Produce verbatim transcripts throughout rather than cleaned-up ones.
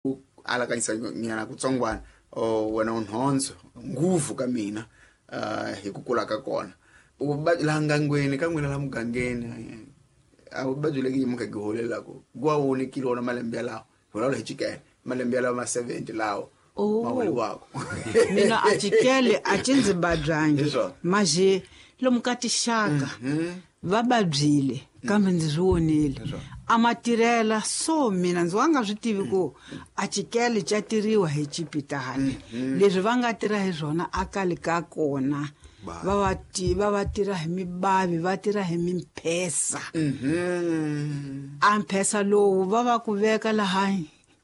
Ku alakanyisa nyana kutsongwana o wena unhondzo nguvu ka mina uh, hi ku kula ka kona u laha ngangweni ka n'wina laha mugangeni a vuvabyi leki muka gi holelaku gwa wonekile wona malembe yalawo hi vulavula hi chikele malembe yalawo ma seventy lawo Oh. ma holiwako Mina a chikele a ci ndzi babyangi. Hi swona. Maje lomu ka tixaka va babyile kambe ndzi swi vonile. A ma tirhela so mina ndzi wa nga swi tivi ku a chikele xa tiriwa hi chipitali. Leswi va nga tirha hi swona a kale ka kona va va ti va va tirha hi mibavi va tirha hi mimphesa. A mphesa lowu va va ku veka laha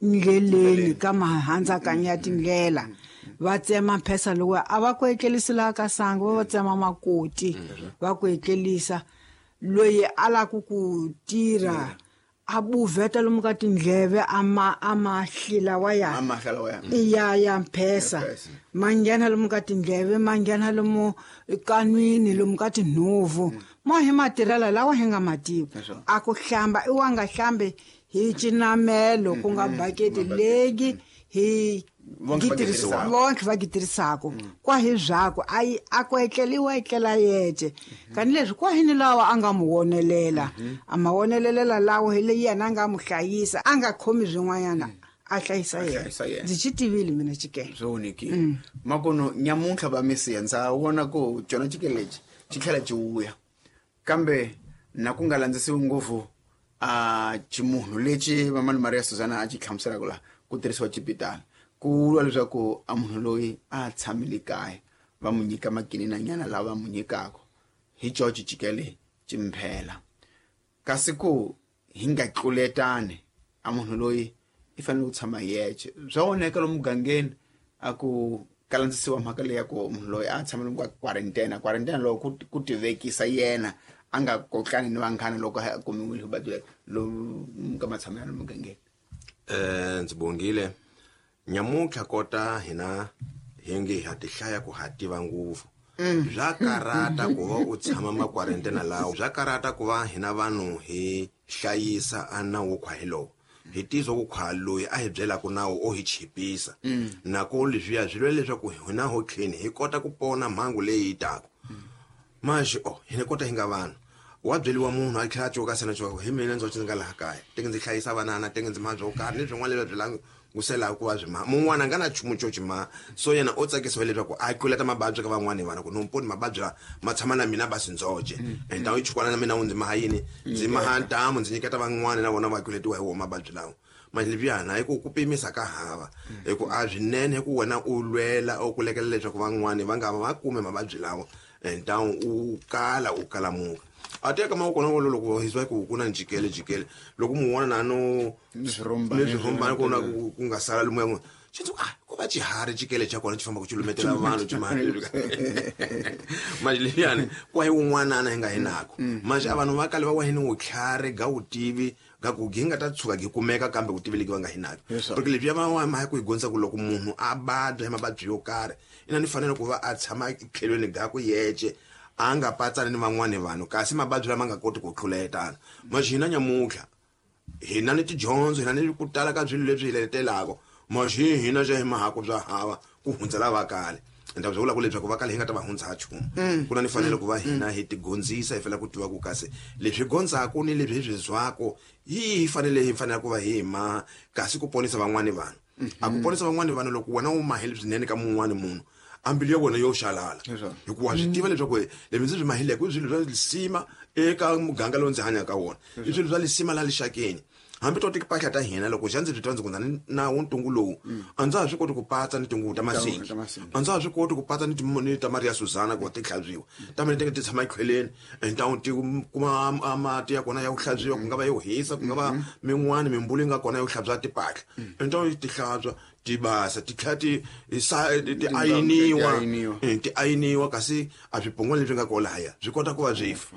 ndleleni ka mahandzakanya ya tindlela va tsema mphesa lowu a va ku etlerisi laha ka sangu va va tsema makoti va ku etlerisa loyi a lava ku tirha a buveta lomu ka tindleve a ma a mahlila wa ya A mahla lawa ya. ya ya mphesa Mphesa. ma nghena lomu ka tindleve ma nghena lomu kanwini lomu ka tinhovu mo hi matirhela lawa hi nga mativi Leswo. a ku hlamba i wa nga hlambi hi cinamelo ku nga baketi leyi hi Vonke va gitirisa- gitirhisaka. vonke va gitirhisaka kwa hi byakwe a yi a ku etleliwa etlela yece kanileswi kwa hini lawa a nga mu wonelela a ma wonelelela lawa hi leyi yena a nga mu hlayisa a nga khomi swin'wanyana a hlayisa yena hlayisa yena. Ndzi xi tivile mina chikele Swi vonekile makono nyamuntlha va misiya ndza vona ku cona chikele lexi xi tlhela xi vuya kambe na ku nga landzisiwi ngopfu a ximunhu lexi vamani Maria Susana a xi hlamuselaka laha ku tirhisiwa chipitali ku vuriwa leswaku a munhu loyi a tshamile kaya va mu nyika makininanyana lawa va mu nyikaka hi coci chikele ximphela kasi ku hi nga tluletani a munhu loyi i fanele ku tshama hi yexe swa voneka lomu mugangeni a ku kalandzisiwa mhaka leyi ya ku munhu loyi a tshama lomu ka quarantine quarantine loko ku ku tivekisa yena a nga kotlani ni vanghana loko a kumiwile hi vuvabyi lomu ka matshamelo ya lomu mugangeni. Eh ndzi bongile nyamuntlha kota hina hi nge ha ti hlaya ku ha tiva ngopfu bya karata ku va u tshama ma quarantine lawo bya karata ku va hina vanhu hi hlayisa a nawu wo khwa hi lowo hi tizwa ku khwa loyi a hi byelaka nawu o hi chipisa nako leswiya swi lwela leswaku hina ho tlheni hi kota ku pona mhangu leyi yi taka maxi o hina kota hi nga vanhu wa byeliwa munhu a tlhela a coka sena coka hi mina ndzi ndzi nga laha kaya teke ndzi hlayisa vanana teke ndzi maha byo karhi ni swin'wana leswi byi languselaka ku va byi maha mun'wana a nga na nchumu xo xi maha so yena o tsakisiwa leswaku a tluleta mababyi ka van'wani vanhu ku no mponi mababyi lawa ma tshama na mina basi ndzoce and tawu chukwana na mina wu ndzi maha yini ndzi maha ntamu ndzi nyiketa van'wani na vona va tluletiwa hi wona mababyi lawa manje leswiyana hi ku ku pimisa ka hava hi ku a swinene hi ku wena u lwela u kulekela leswaku van'wani va nga va kume mavabyi lawa ntawu u kala u kalamuka a teka mavoko na wona loko hi swa ku ku na jikele jikele loko mu vona na no Ni swirhumbani, ni swirhumbani ku na ku ku nga sala lomu ya n'wina xi ndzi ku, ah ko va xiharhi jikele xa kona xi fambaka xi lumetela vanhu xi maha manje leswiyani kwa hi wun'wanana hi nga hi nako manje a vanhu va kale va wa hi ni vutlhari ga vutivi ga ku gi nga ta tshuka gi kumeka kambe vutivi legi va nga hi nako Yes, sir. porque leswiya va wa mhaka ku hi dyondzisa ku loko munhu a vabya hi mavabyi yo karhi ina ni fanele ku va a tshama tlhelweni ga ku yece a nga patsani ni van'wani vanhu kasi mavabyi lama nga koti ku tluletana manje hina nyamuntlha hina ni tidyondzo hina ni ku tala ka swilo leswi hi letelaka manje hina xa hi mahaku bya hava ku hundza lava kale ende byi vula ku leswaku va kale hi nga ta va hundza ha nchumu ku na ni fanele ku va hina hi tigondzisa hi fanele ku tiva ku kasi leswi gondzaku ni leswi hi swi zwako hi hi fanele hi fanele ku va hi maha kasi ku ponisa van'wani vanhu a ku ponisa van'wani vanhu loko wena u mahile swinene ka mun'wani munhu a mbilu ya wena yo xalala Leswaku. hikuva swi tiva leswaku leswi ndzi swi mahileke i swilo swa lisima eka muganga lowu ndzi hanyaka ka wona i swilo swa lisima laha lixakeni hambi to timpahla ta hina loko xa ndzi swi tiva ndzi ku na ni nawu ntungu lowu a ndza ha swi koti ku patsa ni tinguvu ta masingi ta masingi. a ndza ha swi koti ku patsa ni ti- ni ta Maria Susana ku va ti hlantswiwa ta mina ti nga ti tshama ekhweleni and ti kuma a mati ya kona ya ku hlantswiwa ku nga va yo hisa ku nga va min'wani mimbulu yi nga kona yo hlantswa timpahla and ti hlantswa ti basa ti tlhela ti sa- ti ayiniwa ayiniwa. Eh, ti ayiniwa kasi a swipongwana leswi nga kona lahaya swi kota ku va swi fa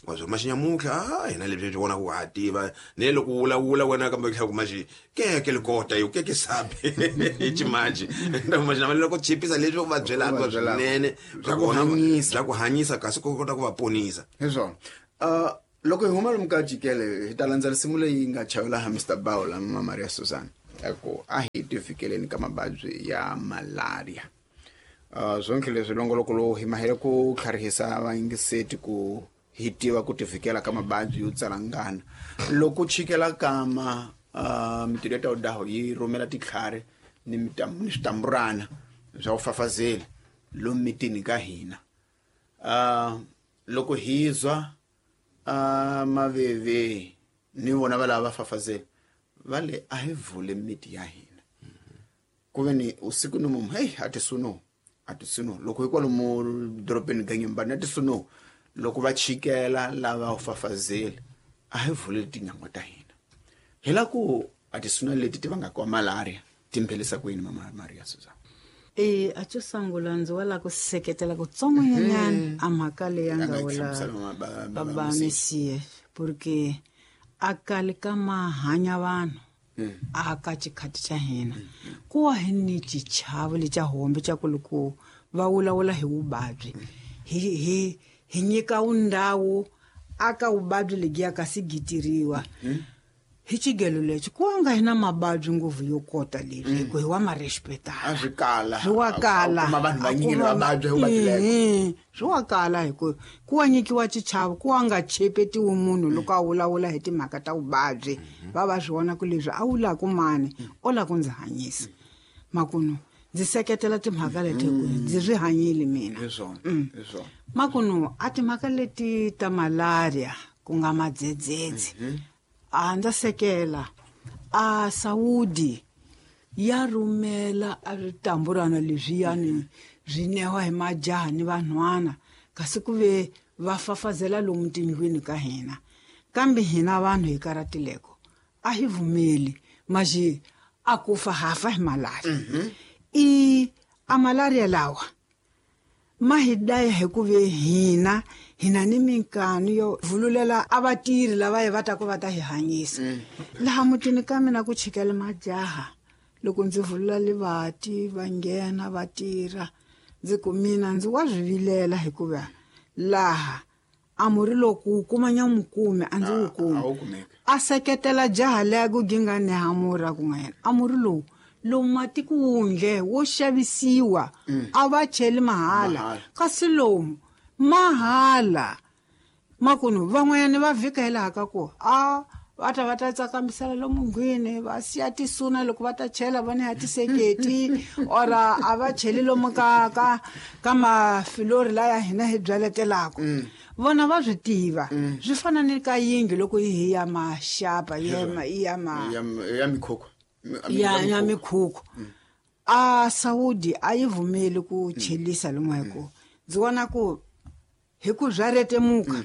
wa swo maxinyamuntlha a hina leswi swi vonaka ku ha tiva ne loko u vulavula wena kambe tlhela ku maxi keke likota yo keke sabi hi ximanji maxinamale loko chipisa leswi u va byelaka U va byelaka. swinene Bya ku vona- hanyisa. bya ku hanyisa kasi ku kota ku va ponisa Hi swona uh, loko hi huma lomu ka jikele hi ta landza risimu leyi nga chayela ha Mister Bawula ma Maria Susana. Ku a hi tivikeleni ka mavabyi ya malaria. Uh, zonke leswi longoloko lowu hi mahele ku tlharihisa vayingiseti ku hi tiva ku tivikela ka mavabyi yo tsalangana. Loko chikela kama uh, mitirho ya tawudaho yi rhumela titlhari ni ni switamburana swa ku fafazela lomu mitini ka hina. Uh, loko hi zwa uh, maveve ni vona va lava va fafazela va le a hi vule miti ya hina. Ku ve ni usiku ni mumu hey a ti suno a ti suno loko hi kwalomu dorobeni Ganyimbani a ti suno loko va chikela lava u fafazela a hi vule tinyangwa ta hina. Hi la ku a ti suna leti ti vangaka malaria ti mphelisa ku yini mama Maria Susan? E a xo sungula ndzi wa la ku seketela kutsongonyana a mhaka leyi ya nga vula baba Mesiye porque a kale ka mahanya vanhu a ka xikhati xa hina ku wa hi ni xichavo lexa hombe xa ku loko va vulavula hi vuvabyi hi hi hi nyika undhawu aka vuvabyi lebyiya kasi gitiriwa hi xigelo lexi ku nga hi na mavabyi ngopfu yo kota leswi hi ku hi wa ma respecta a swi kala swi wa kala kuma vanhu vanyingi va vabya hi vuvabyi lebo swi wa kala hi ku ku wa nyikiwa xichavo ku wa nga chepetiwi munhu loko a vulavula hi timhaka ta vuvabyi va va swi vona ku leswi a wulaku mani o la ku ndzi hanyisa makunu ndzi seketela timhaka leti hi ku ndzi swi hanyile mina hi swona hi swona makunu a timhaka leti ta malaria ku nga madzedzedze a ndza sekela a Saudi ya rhumela a switamburana leswiyani swi newa hi majaha ni vanhwana kasi ku ve va fafazela lomu tindlwini ka hina kambe hina vanhu hi karatileko a hi vumeli maxi a ku fa hafa hi malaria i a malaria lawa ma hi daya hi ku ve hina hina ni minkanu yo vululela a vatirhi lava hi va ta ku va ta hi hanyisa laha mutini ka mina ku chikela majaha loko ndzi vulula livati va nghena va tirha ndzi ku mina ndzi wa swi vilela hikuva laha a murhi loko wu kuma nyamukume a ndzi wu kumi a seketela jaha leya ku ginga neha murhi a ku nga yena a murhi lowu lowu matiko wundle wo xavisiwa a va cheli mahala kasi lomu mahala makunu van'wanyana va vhika hi laha ka ku a va ta va ta tsakamisela lomu nghwini va siya tisuna loko va ta chela va neha tiseketi or a va cheli lomu ka ka ka mafilori laya hina hi byaletelaka vona va swi tiva swi fana ni ka yindlu loko yi hi ya maxapa ya ya ma ya mikhukhu ya ya mikhukhu a Saudi a yi vumeli ku chelisa lomu hi ku ndzi vona ku hi ku bya retemuka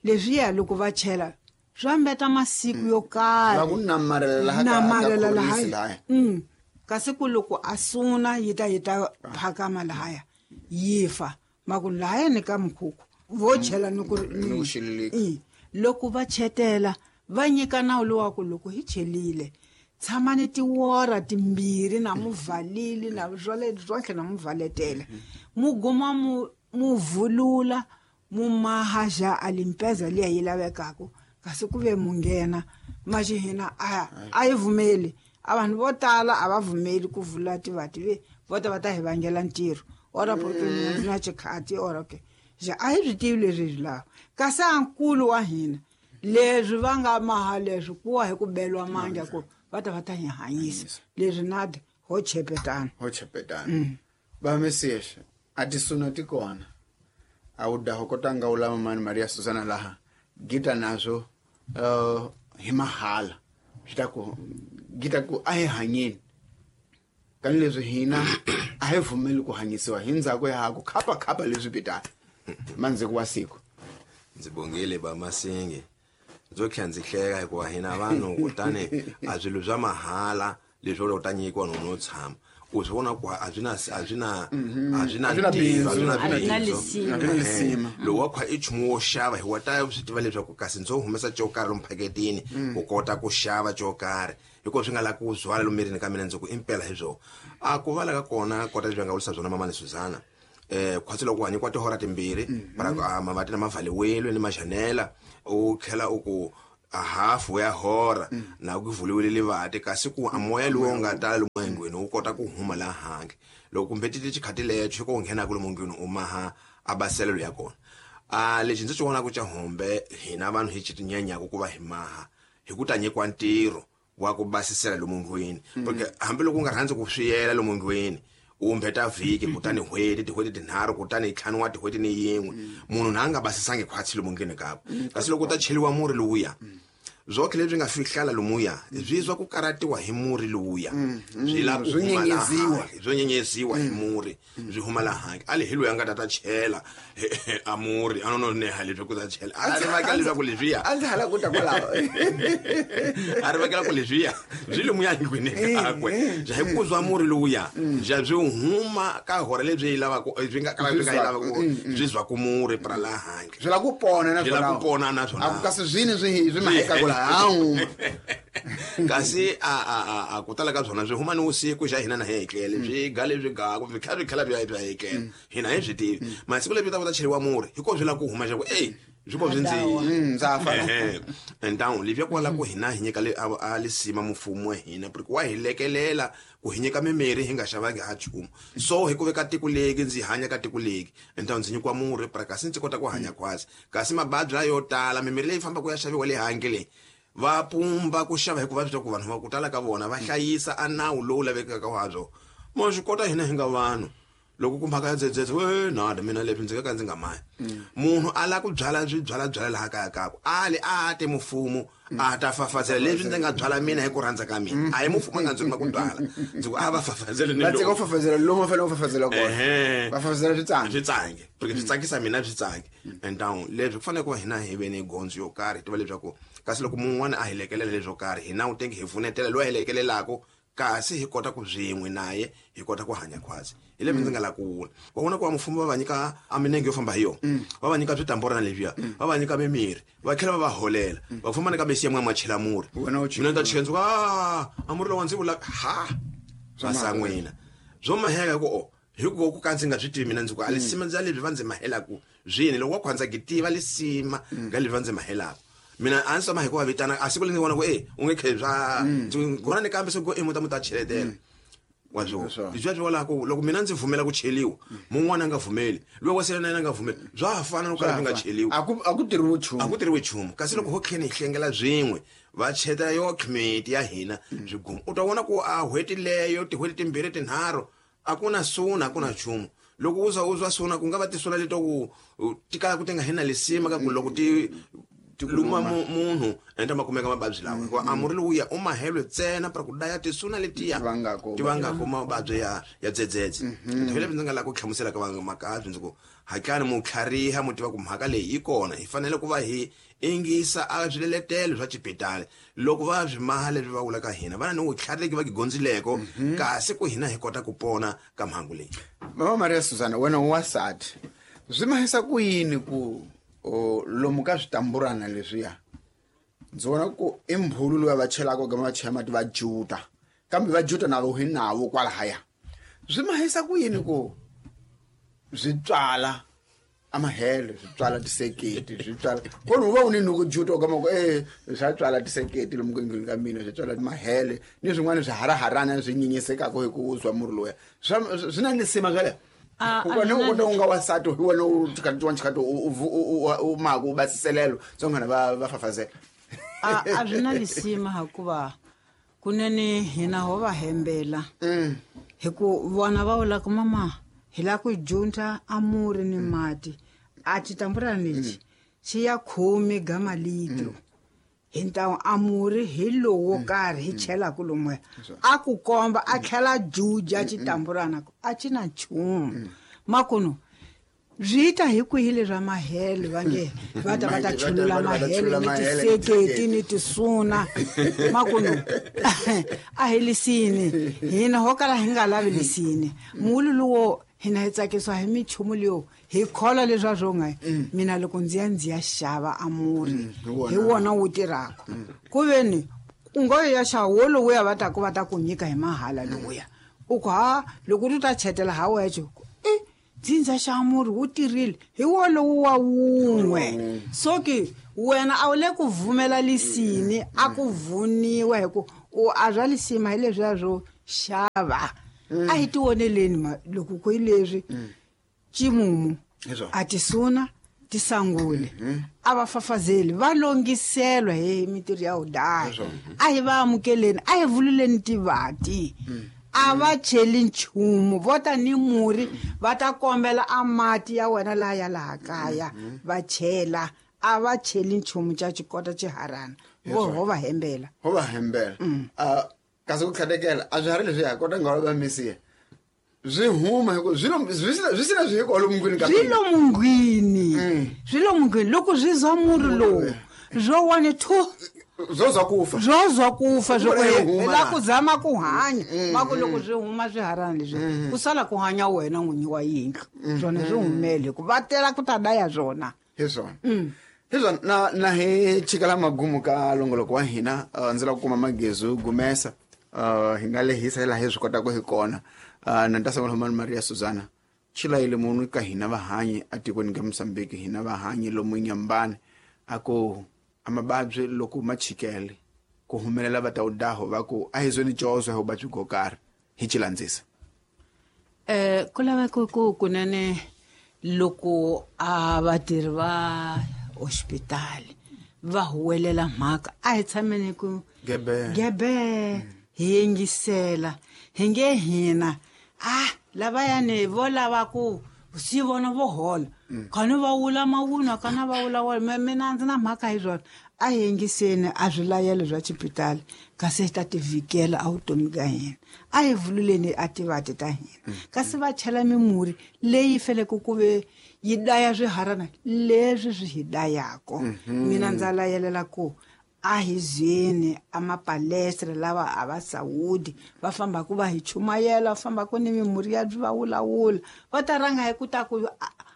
leswiya loko va chela swa mbeta masiku yo karhi va ku namarela laha namarela laha kasi ku loko a suna yi ta yi ta phakama lahaya yi fa maku lahaya ni ka mikhukhu vo chela ni ku loko va chetela va nyika nawu lowa ku loko hi chelile tshamani tiwora timbirhi na muvalili na swale swonke na muvaletela muguma mu muvulula mumahaja alimpeza liya yi lavekaka kasi ku ve mu nghena maxi hina a a yi vumeli a vanhu vo tala a va vumeli ku vula tivati ve vo ta va ta hi vangela ntirho ora porque mina ndzi na xikhati ora ke ja a hi swi tivi leswi hi swi lava kasi a nkulu wa hina leswi va nga maha leswi kuwa hi ku beliwa mandla ku va ta va ta hi hanyisa leswi nadi ho chepetana ho chepetana va Mesiyexe a tisuna ti kona a wu daho kotanga wu lava mani Maria Susana laha gita nazwo uh, hi mahala swi ta ku gita ku a hi hanyeni kani leswi hina a hi vumeli ku hanyisiwa hi ndzhaku ya ha ku khapa khapa leswi pitana mandzhiku wa siku ndzi bongile ba Masinge ndzo tlhela ndzi hleka hikuva hina vanhu kutani a swilo swa mahala leswi u ta nyikiwa no no tshama u swi vona ku a swi na a swi na a swi na ntirho a swi na lisima lowu wa khwa i nchumu wo xava hi wa ta swi tiva leswaku kasi ndzo humesa xo karhi lomu phaketini ku kota ku xava xo karhi hikuva swi nga lavi ku zwala lomu mirini ka mina ndzi ku impela hi swona a ku vala ka kona kota leswi va nga vurisa byona mamani Suzana eh khwatsi loko u nyikiwa tihora timbirhi para mavati na mavhaliwelo ni majanela u tlhela u ku a hafu ya hora na ku vuliwile livati kasi ku a moya lowu nga tala lomu endlwini wu kota ku huma laha handle loko kumbe ti xikhati lexo ko nghena ku lomu ndlwini u maha a baselelo ya kona a lexi ndzi xi vonaka xa hombe hina vanhu hi xitinyanyaka ku va hi maha hi ku ta nyikiwa ntirho wa ku basisela lomu ndlwini porque hambiloko u nga rhandzi ku swiyela lomu ndlwini u mbeta vhiki kutani n'hweti tin'hweti tinharhu kutani ntlhanu wa tin'hweti ni yin'we munhu na a nga basisangi khwatsi lomu ndlwini kakwe kasi loko u ta cheliwa murhi lowuya zwokhe leswi nga fihlala lomuya byi zwa ku karatiwa hi murhi lowuya byi la ku nyenyeziwa byo nyenyeziwa hi murhi byi huma laha handle a le hi loyi a nga ta ta chela a murhi a no no neha leswi ku ta chela a ri vekela leswaku leswiya a ndzi hala ku ta kwalaho a ri vekela ku leswiya byi lomuya ndlwini kakwe bya hi ku zwa murhi lowuya bya byi huma ka hora lebyi yi lavaka byi nga ka byi nga yi lavaka byi zwa ku murhi pra laha handle byi la ku pona na byi la ku pona na swona a ku kasi swini swi swi maheka ku laha kasi a a a ku tala ka byona byi huma ni vusiku xa hina na hi etlele byi ga lebyi gaku byi tlhela byi tlhela byi ya bya etlele hina hi byi tivi masiku lebyi ta ku ta cheriwa murhi hikuva byi lava ku huma xa ku ey byi ko byi ndzi ndza fa entawu lebyi kwala ku hina hi nyika le a lisima mfumo wa hina porque wa hi lekelela ku hi nyika mimirhi hi nga xavangi ha nchumu so hi ku veka tiko leki ndzi hanya ka tiko leki entawu ndzi nyikiwa murhi pra kasi ndzi kota ku hanya khwatsi kasi mababyi layo tala mimirhi leyi fambaka ya xaviwa le handle leyi va pumba ku xava hikuva swi twa ku vanhu va ku tala ka vona va hlayisa a nawu lowu lavekaka wa byo mo swi kota hina hi nga vanhu loko ku mhaka ya dzedzedze we nada mina leswi ndzi nga ka ndzi nga mahi munhu a lava ku byala swi byala byala laha kaya kakwe a le a te mufumo a ta fafazela leswi ndzi nga byala mina hi ku rhandza ka mina a hi mufumo a nga ndzi rhuma ku byala ndzi ku a va fafazele ni va tshika ku fafazela lomu va fanele ku fafazela kona va fafazela switsange switsange porque swi tsakisa mina swi tsange and down leswi ku fanele ku va hina hi ve ni gondzo yo karhi hi tiva leswaku kasi loko mun'wana a hi lekelela leswo karhi hina u tenge hi pfunetela loyi a hi lekelelaka kasi hi kota ku byin'we naye hi kota ku hanya khwatsi hi leswi ndzi nga la ku vula va vona ku va mfumo va va nyika a minenge yo famba hi yona va va nyika switamburana leswiya va va nyika mimirhi va tlhela va va holela va famba ni ka mesiya mwa machela murhi mina ta chela ndzi ku a a murhi lowa ndzi vula ha va san'wina byo maheka ku o hikuva ku ka ndzi nga swi tivi mina ndzi ku a lisima ndza leswi va ndzi mahelaku swini loko wa khwandza ki tiva lisima nga leswi va ndzi mahelaku mina a ndzi tshama hi ku va vitana a siku leri ndzi vona ku e u nge khe bya ndzi vona ni kambe se ku e muta muta cheletela wa byo bya byi vula ku loko mina ndzi vumela ku cheliwa mun'wana a nga vumeli loyi wa sele na yena a nga vumeli bya ha fana loko ka byi nga cheliwi a ku a ku tirhiwi nchumu a ku tirhiwi nchumu kasi loko ho tlhela hi hlengela byin'we va chetela yo committee ya hina byi guma u ta vona ku a n'hweti leyo tin'hweti timbirhi tinharhu a ku na suna a ku na nchumu loko u za u zwa suna ku nga va tisuna leto ku ti kala ku ti nga hina lisima ka ku loko ti luma munhu enda makumeka mababyi lawa hikuva a murhi lowuya u mahelwe ntsena para ku daya tisuna letiya ti vangako mavabyi ya ya dzedzedze ndzi ndzi nga lava ku hlamusela ka vamakabyi ndzi ku hatlani mu tlhariha mu tiva ku mhaka leyi yi kona hi fanele ku va hi ingisa a swiletelo swa xibedhlele loko va swi maha leswi va vulaka hina va na ni vutlhari va kigondzileko kasi ku hina hi kota ku pona ka mhangu leyi mama Maria Susana wena u wansati swi mahisa ku yini ku o lomu ka switamburana leswiya ndzi vona ku i mbhulu loyi va chelaka ka va chela mati va juta kambe va juta na vo hi nawo kwalahaya swi mahisa ku yini ku swi tswala amahele swi tswala tiseketi swi tswala kona u va u ni nuku juta u kama ku e swa tswala tiseketi lomu ku endlwini ka mina swi tswala mahele ni swin'wana swi haraharana swi nyinyisekaka hi ku zwa murhi loya swi na lisima swale wena u kota u nga wansati hi wena u xikati wa xikati u maka u basiselelo tsongana va va fafazela a a swi na lisima hikuva kunene hina ho va hembela hi ku vona va vula ku mama hi lava ku junta a murhi ni mati a xitamburana lexi xi ya khume ga malitro hi ntawu a murhi hi lowo wo karhi hi chelaka lomuya a ku komba a tlhela juja xitamburana a xi na nchumu makunu byi ta hi kwihi leswa mahele va nge va ta va ta chulula mahele ni tiseketi ni tisuna makunu a hi lisini hina ho kala hi nga lavi lisini muulu lowo hina hi tsakisiwa hi minchumu leyo hi kholwa leswa swo nga mina loko ndzi ya ndzi ya xava a murhi hi wona wu tirhaka ku veni u ngo ya xava wo lowuya va ta ku va ta ku nyika hi mahala lowuya u ku ha loko u ta chetela ha wexe i dzindza xa murhi wu tirhile hi wolowo wa wun'we so ke Wena a wu le ku vumela lisini a ku vuniwa hi ku u a bya lisima hi leswiya swo xava. A hi tioneleni ma loko ku hi leswi ximumu a tisuna tisangule a va fafazeli va longiselwa hi mitirho ya udaya. A hi va amukeleni, a hi vululeni tivati. A va cheli nchumu, vo ta ni murhi va ta kombela a mati ya wena laha ya laha kaya va chela. A va cheli nchumu xa xikota xiharana, vo ho va hembela, ho va hembela. A kasi ku tlhatekela a swi hari leswi ya kota nga va misiya swi huma hi ku swi lo swi swi sina swi hi lo mungwini ka swi lo mungwini swi lo mungwini loko swi zwa murhi lowu zwo one two zwo zwa kufa zwo zwa kufa zwo la ku zama ku hanya ma ku loko swi huma swiharana leswi ku sala ku hanya wena n'winyi wa yindlu swona swi humele ku va tela ku ta daya swona hi swona. Hi swona na na hi chikala magumu ka longoloko wa hina ndzi la ku kuma magezu gumesa hi nga lehisa laha hi swi kotaka hi kona. Na nta sangula mani Maria Susana chilayile munhu ka hina vahanyi atikweni ka Mozambique hina vahanyi lomu Nyambani a ku amababyi loko ma chikele ku humelela va ta udaho va ku a hi zweni cozo hi vuvabyi byo karhi hi chilandzisa. Eh ku laveka ku kunene loko a vatirhi va hospitali va huwelela mhaka a hi tshameni ku gebe gebe hi yingisela hi nge hina ah lavayani vo lava ku si vona vo hola khani va wula mawunwa kana va wula wala mina ndzi na mhaka hi swona. A hi yingiseni a swilayelo swa xipitali kasi hi ta tivikela a vutomi ka hina. A hi vululeni a tivati ta hina kasi va chela mimurhi leyi faneleke ku ve yi daya swiharana leswi swi hi dayako. Mina ndza layelela ku a hi zweni a mapalestra lava a va Saudi va fambaka va hi chumayela, va fambaka ni mimurhi ya va wulawula va ta rhanga hi ku ta ku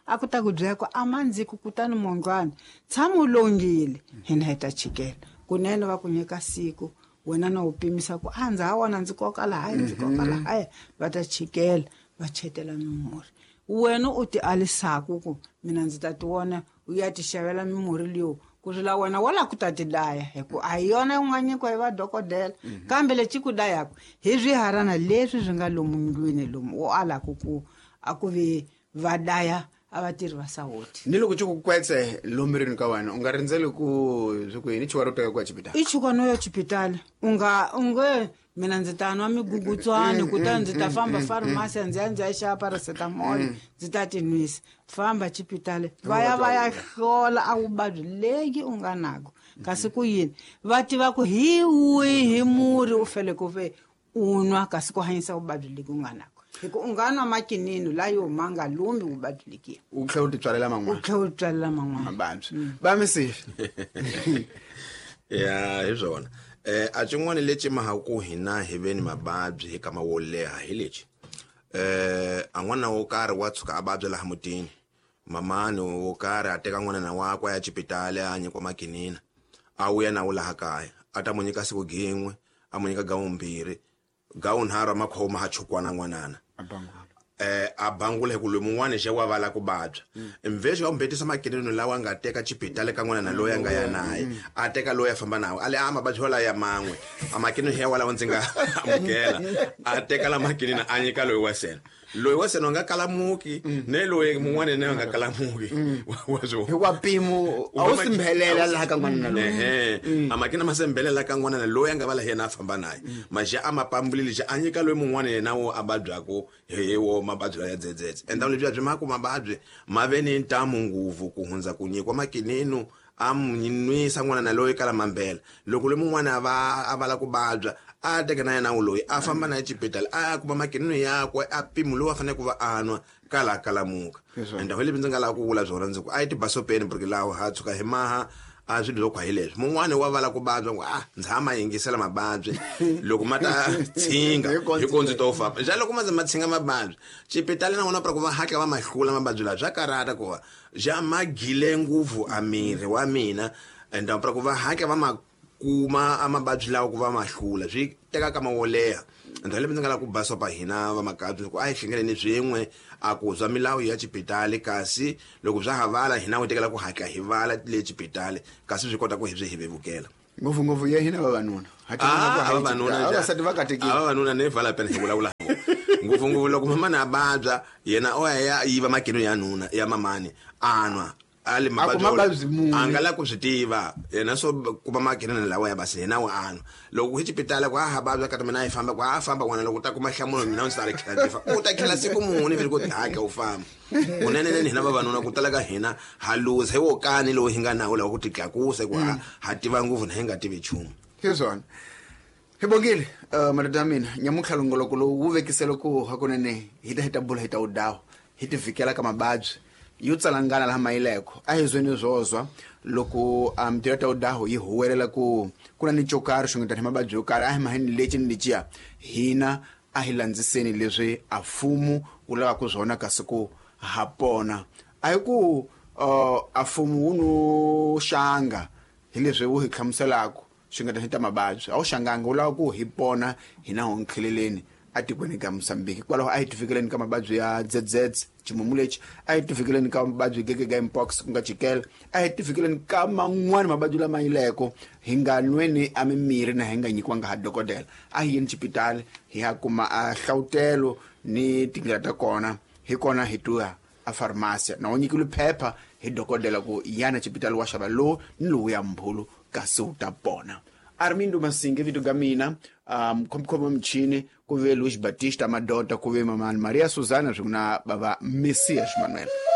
a ku ta ku byela ku a mandziki kutani mondlwana tshama u longile hina hi ta chikela kunene va ku nyika siku wena na u pimisa ku a ndza ha wona ndzi koka lahaya ndzi koka lahaya va ta chikela va chetela mimurhi wena u ti alisaku ku mina ndzi ta ti vona u ya ti xavela mimurhi leyo ku ri la wena wala ku ta ti daya hi ku a hi yona yi nga nyikiwa hi vadokodela kambe lexi ku dayaka hi swiharana leswi swi nga lomu ndlwini lomu u alaku ku a ku vi va daya a vatirhi va sawoti. Ni loko xi ku kwetse lomirini ka wena u nga rindzeli ku swi ku yini chuka ro teka ku ya xipitali i chuka no ya xipitali u nga u nge mina ndzi ta nwa migugutswani kutani ndzi ta famba pharmacy ndzi ya ndzi ya xava paracetamol ndzi ta ti nwisa. Famba xipitali va ya va ya hlola a vuvabyi legi u nga nako kasi ku yini va tiva ku hi wihi murhi u fanele ku ve u nwa kasi ku hanyisa vuvabyi legi u nga nako hi ku u nga nwa makinini layo ma nga lumbi vuvabyi lekiya u tlhela u ti tswalela man'wana u tlhela u tswalela man'wana mavabyi va misifi ya hi swona. Eh a xin'wana lexi mahaku hina hi ve ni mavabyi hi kama wo leha hi lexi eh a n'wana wo karhi wa tshuka a vabya laha mutini mamani wo karhi a teka n'wana wakwe a ya xipitali a nyikiwa makinina a vuya na wu laha kaya a ta mu nyika siku gin'we a mu nyika gawumbirhi gawunharhu a makhoma ha chukwana n'wanana eh a bangula hi ku loyi mun'wana xe wa vala ku vabya mvexo wa mbetisa makinino lawa nga teka xipitali ka n'wana na loyi a nga ya naye a teka loyi a famba nawo a le a mavabyi wala ya man'we a makinino ya walawo ndzi nga amukela a teka la makinino a nyika loyi wa sena loyi wa sena a nga kalamuki ne loyi mun'wana ne a nga kalamuki wa swo hikuva mpimo a wu simbhelela laha ka n'wana loyi ehe a makina ma sembhelela ka n'wana loyi a nga vala yena a famba naye maxe a ma pambulile xe a nyika loyi mun'wana yena wo a vabyaku hi wo mavabyi ya dzedzedze enda lebyi byi ma ku mavabyi ma ve ni ntamu nguvu ku hundza ku nyikiwa makinino a nwisa n'wana na loyi kala mambela loko loyi mun'wana a va a vala ku vabya a teka na yena loyi a famba na xipitali a kuma makinino yakwe a mpimo lowu a fanele ku va a nwa kala kalamuka ende hi leswi ndzi nga lava ku vula swona ndzi ku a yi tibasopeni porque laha ha tshuka hi maha a swilo swo khwa hi leswi mun'wani wa vala ku vabya ku ah ndzi hama yingisela mavabyi loko ma ta tshinga hi ko ndzi to famba njhani loko ma ze ma tshinga mavabyi xipitali na wona pra ku va hatla va ma hlula mavabyi lawa swa karhata ku va ja ma gile ngopfu a miri wa mina ende pra ku va hatla va ma kuma a mavabyi lawa ku va ma hlula swi teka kama wo leha. Ndzi lembe ndzi nga lava ku basopa hina vamakabye ku a hi hlengeleni swin'we a ku zwa milawu ya xipitali, kasi loko bya ha vala hina wu tekela ku hatla hi vala le xipitali, kasi swi kota ku hi byi hi vevukela. Ngopfungopfu ya hina vavanuna. Vavanuna vavasati va katekile. Vavanuna ne vala pena hi vulavula ngopfungopfu loko mamani a vabya yena o ya ya yiva makino ya nuna ya mamani a nwa a le mavabyi a nga la ku swi tiva yena swo kuma makinene lawa ya basi yena wa anwa. Loko hi xipitala ku a ha vabya kati mina a yi famba ku a famba n'wana loko u ta kuma nhlamulo mina ndzi ta ri tlhela ndzi fa u ta tlhela siku muni vele ku hakla u famba. Kunenenene hina vavanuna ku tala ka hina ha luza hi wo kani lowu hi nga nawo lawa ku titlakusa ku ha ha tiva ngopfu na hi nga tivi nchumu. Hi swona hi bongile madoda ya mina nyamuntlha longoloko lowu wu vekisele ku hakunene hi ta hi ta bula hi ta wu dawa hi ti vhikela ka mavabyi yo tsalangana laha mayileko. A hi zweni zwozwa loko mintirho ya ta udaho yi huwelela ku ku na ni xo karhi xo ngetana hi mavabyi yo karhi a hi maheni lexi ni lexiya hina a hi landziseni leswi a mfumo wu lavaka swona kasi ku ha pona. A hi ku a mfumo wu no xanga hi leswi wu hi hlamuselaka swi nga ta ta mavabyi a wu xanganga wu lava ku hi pona hina ho nkheleleni atikweni ka Mozambique. Kwalaho a hi tifikeleni ka mavabyi ya Z Z ximumu lexi, a hi tifikeleni ka mavabyi gege mpox ku nga chikele, a hi tifikeleni ka man'wani mavabyi lama yileko hi nga nweni a mimirhi na hi nga nyikiwanga ha dokodela. A hi yeni xipitali hi ya kuma a hlawutelo ni tindlela ta kona hi kona hi tuya a farmasi na u nyikiwe phepha hi dokodela ku yana xipitali wa xava lowu ni lowu ya mbhulu kasi wu ta pona. Armindo Masinge vito ga mina, um khomkhoma mchini ku ve Luis Batista Madota ku ve Mamani Maria Susana swin'we na bava Messias Manuel.